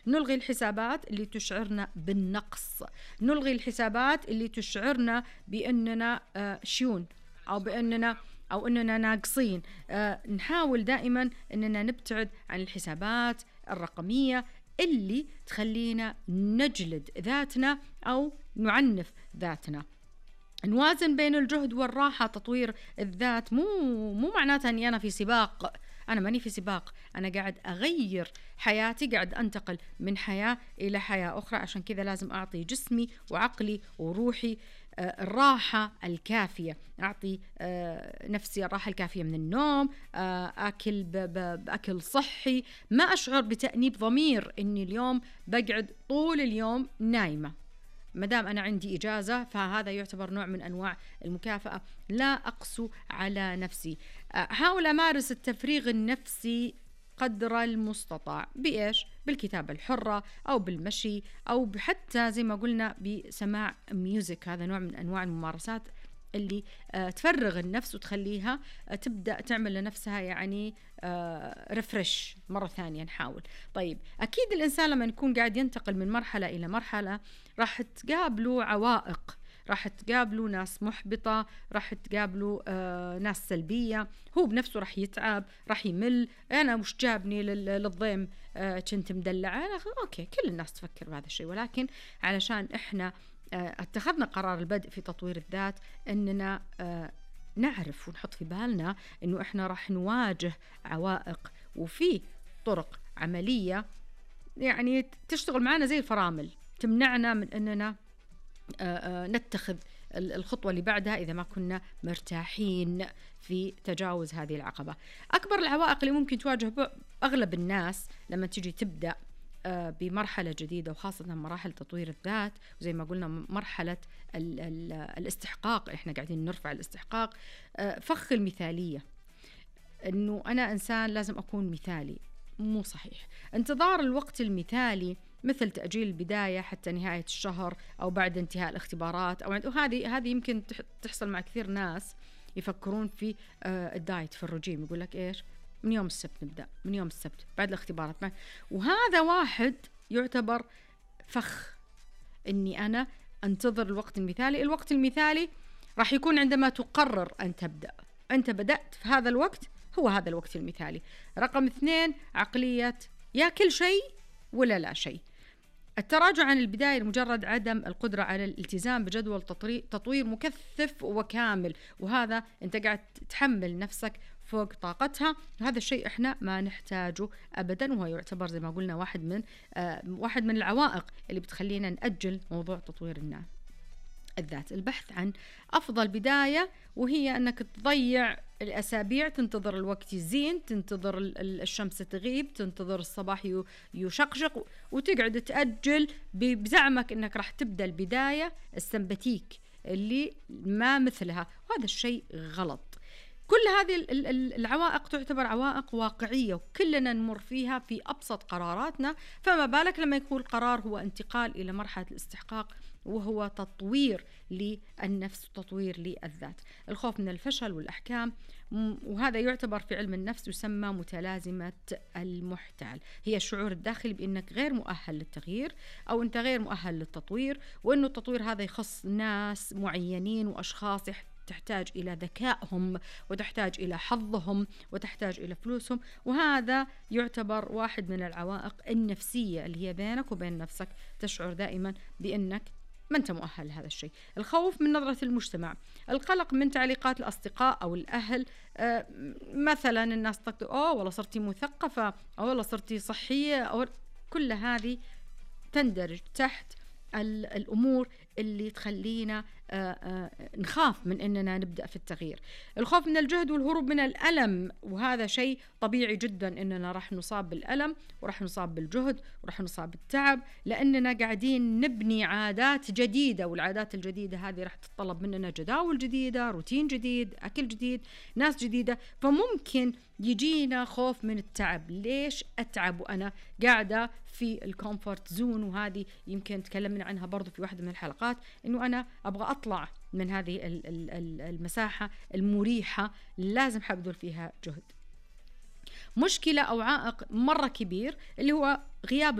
نلغي الحسابات اللي تشعرنا بالنقص، نلغي الحسابات اللي تشعرنا بأننا شيون أو أننا ناقصين. نحاول دائما أننا نبتعد عن الحسابات الرقمية اللي تخلينا نجلد ذاتنا أو نعنف ذاتنا. نوازن بين الجهد والراحة. تطوير الذات مو معناتها أني أنا في سباق، أنا ماني في سباق، أنا قاعد أغير حياتي، قاعد أنتقل من حياة إلى حياة أخرى. عشان كذا لازم أعطي جسمي وعقلي وروحي الراحة الكافية، أعطي نفسي الراحة الكافية من النوم، أكل بأكل صحي، ما أشعر بتأنيب ضمير إني اليوم بقعد طول اليوم نايمة. مدام أنا عندي إجازة فهذا يعتبر نوع من أنواع المكافأة، لا أقسو على نفسي. أحاول أمارس التفريغ النفسي قدر المستطاع. بإيش؟ بالكتابة الحرة أو بالمشي أو حتى زي ما قلنا بسماع ميوزك. هذا نوع من أنواع الممارسات اللي تفرغ النفس وتخليها تبدأ تعمل لنفسها يعني ريفرش مرة ثانية. نحاول. طيب أكيد الإنسان لما يكون قاعد ينتقل من مرحلة إلى مرحلة راح تقابله عوائق، راح تقابلوا ناس محبطة، راح تقابلوا ناس سلبية، هو بنفسه راح يتعب، راح يمل. أنا مش جابني للضيم كنت مدلعة. أوكي، كل الناس تفكر بهذا الشيء، ولكن علشان إحنا اتخذنا قرار البدء في تطوير الذات أننا نعرف ونحط في بالنا أنه إحنا راح نواجه عوائق، وفي طرق عملية يعني تشتغل معنا زي الفرامل تمنعنا من أننا نتخذ الخطوة اللي بعدها إذا ما كنا مرتاحين في تجاوز هذه العقبة. أكبر العوائق اللي ممكن تواجه أغلب الناس لما تيجي تبدأ بمرحلة جديدة، وخاصة مراحل تطوير الذات، وزي ما قلنا مرحلة الاستحقاق، إحنا قاعدين نرفع الاستحقاق، فخ المثالية، إنه أنا إنسان لازم أكون مثالي. مو صحيح. انتظار الوقت المثالي مثل تأجيل البداية حتى نهاية الشهر أو بعد انتهاء الاختبارات وهذه يمكن تحصل مع كثير ناس يفكرون في الدايت، في الرجيم، يقول لك إيش، من يوم السبت نبدأ، من يوم السبت بعد الاختبارات وهذا واحد يعتبر فخ، إني أنا أنتظر الوقت المثالي. الوقت المثالي راح يكون عندما تقرر أن تبدأ، أنت بدأت في هذا الوقت، هو هذا الوقت المثالي. رقم 2 عقلية يا كل شيء ولا لا شيء. التراجع عن البداية لمجرد عدم القدرة على الالتزام بجدول تطوير مكثف وكامل، وهذا أنت قاعد تحمل نفسك فوق طاقتها، وهذا الشيء إحنا ما نحتاجه أبدا، وهو يعتبر زي ما قلنا واحد من العوائق اللي بتخلينا نأجل موضوع تطوير الذات. البحث عن أفضل بداية، وهي أنك تضيع الأسابيع، تنتظر الوقت يزين، تنتظر الشمس تغيب، تنتظر الصباح يشقشق، وتقعد تأجل بزعمك أنك راح تبدأ البداية السمباتيك اللي ما مثلها، وهذا الشيء غلط. كل هذه العوائق تعتبر عوائق واقعية وكلنا نمر فيها في أبسط قراراتنا، فما بالك لما يكون القرار هو انتقال إلى مرحلة الاستحقاق وهو تطوير للنفس وتطوير للذات. الخوف من الفشل والأحكام، وهذا يعتبر في علم النفس يسمى متلازمة المحتال، هي الشعور الداخلي بأنك غير مؤهل للتغيير أو أنت غير مؤهل للتطوير، وأنه التطوير هذا يخص ناس معينين وأشخاص تحتاج إلى ذكائهم وتحتاج إلى حظهم وتحتاج إلى فلوسهم، وهذا يعتبر واحد من العوائق النفسية اللي هي بينك وبين نفسك، تشعر دائما بأنك ما أنت مؤهل لهذا الشيء. الخوف من نظرة المجتمع، القلق من تعليقات الأصدقاء أو الأهل، مثلا الناس تقول والله صرتي مثقفة، أو والله صرتي صحية، أو كل هذه تندرج تحت الأمور اللي تخلينا نخاف من أننا نبدأ في التغيير. الخوف من الجهد والهروب من الألم، وهذا شيء طبيعي جدا أننا راح نصاب بالألم وراح نصاب بالجهد وراح نصاب بالتعب، لأننا قاعدين نبني عادات جديدة، والعادات الجديدة هذه راح تتطلب مننا جداول جديدة، روتين جديد، أكل جديد، ناس جديدة، فممكن يجينا خوف من التعب. ليش أتعب وأنا قاعدة في الكومفورت زون؟ وهذه يمكن تكلمنا عنها برضو في واحدة من الحلقات، إنه أنا أبغى أطلع من هذه المساحة المريحة، لازم حبذل فيها جهد. مشكلة أو عائق مرة كبير اللي هو غياب